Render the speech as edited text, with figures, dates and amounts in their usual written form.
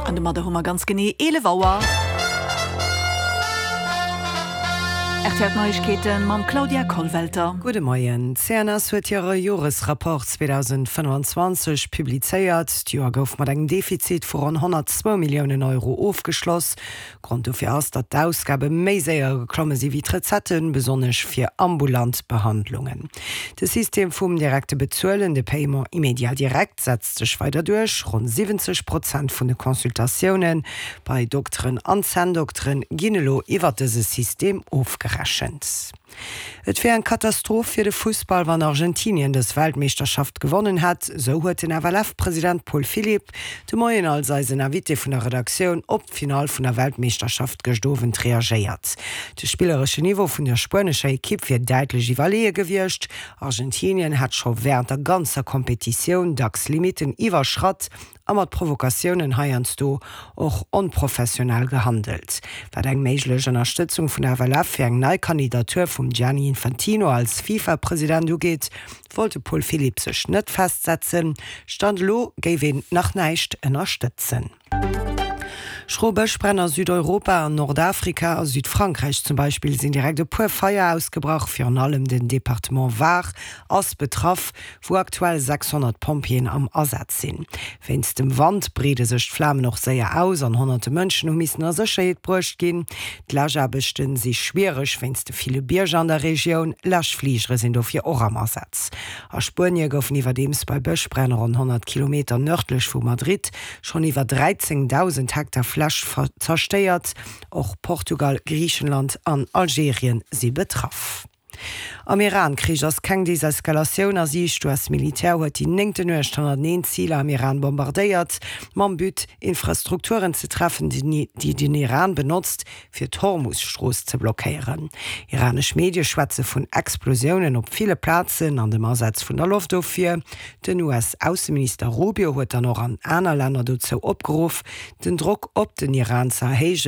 An domadder hu mer ganz genee 11 Auer. Rtl Neiegkeeten mam Claudia Kollwelter. Gudde Moien. D'CNS huet hire Joresrapport 2025 publizéiert. D'Joer gouf mat engem Defizit vu ronn 102 Milliounen Euro ofgeschloss. Grond dofir ass, datt d'Ausgabe méi séier geklomme si wéi d'Recetten, besonnesch fir ambulant Behandlungen. De System vum direkte Bezuelen, de Paiement immédiat direct, setzt sech weider duerch. Ronn 70 Prozent vun de Consultatioune bei Dokteren an Zänndokteren ginn elo iwwer dëse System ofgerechent. Et wier eng Katastroph fir de Fussball, wann Argentinien dës Weltmeeschterschaft gewonnen hätt, esou huet den FLF-President Paul Philipp de Moien als eisen Invité vun der Redaktioun op d'Finall vun der Weltmeeschterschaft gëscht Owend reagéiert. De spilleresche Niveau vun der spuenescher Ekipp wier däitlech iwwerleeë gewiescht. Argentinien hätt scho wärend der ganzer Kompetitioun dacks Limitten iwwerschratt a mat Provokatiounen heiansdo och onprofessionell gehandelt. Wat eng méiglech Ënnerstëtzung vun der FLF fir eng nei Kandidatur vum Gianni Infantino als FIFA-President ugeet, wollt de Paul Philipp sech net festsetzen. Stand elo géif een nach näischt ënnerstëtzen. Schro Bëschbränn a Südeuropa, an Nordafrika a Südfrankräich zum Beispill sinn direkt e puer Feier ausgebrach. Virun allem den Departement Var ass betraff. wou aktuell 600 Pompjeeën am Asaz sinn. Wéinst dem Wand breede sech d'Flamen och séier aus an honnerte Mënschen hu missen a Sécherheet bruecht ginn. D'Läschaarbechte si schwiereg wéinst de ville Bierger an der Regioun. Läschfligere sinn dofir och am Asaz. A Spuenie goufen iwwerdeems bei Bëschbränn ronn 100 Kilometer nërdlech vu Madrid schonn iwwer 13.000 Hektar Fläch zerstéiert. Och Portugal, Griichenland an Algerien si betraff. Am Iran-Krich ass keng Deseskalatioun a Siicht. D'US-Militär huet déi néngte Nuecht hannerteneen Ziler am Iran bombardéiert, mam But, Infrastrukturen ze treffen, déi den Iran benotzt, fir d'Hormus-Strooss ze blockéieren. Iranesch Medie schwätze vun Explosiounen op ville Plazen an dem Asaz vun der Loftofwier. Den US-Ausseminister Rubio huet dann och an aner Länner dozou opgeruff, den Drock op den Iran ze erhéijen.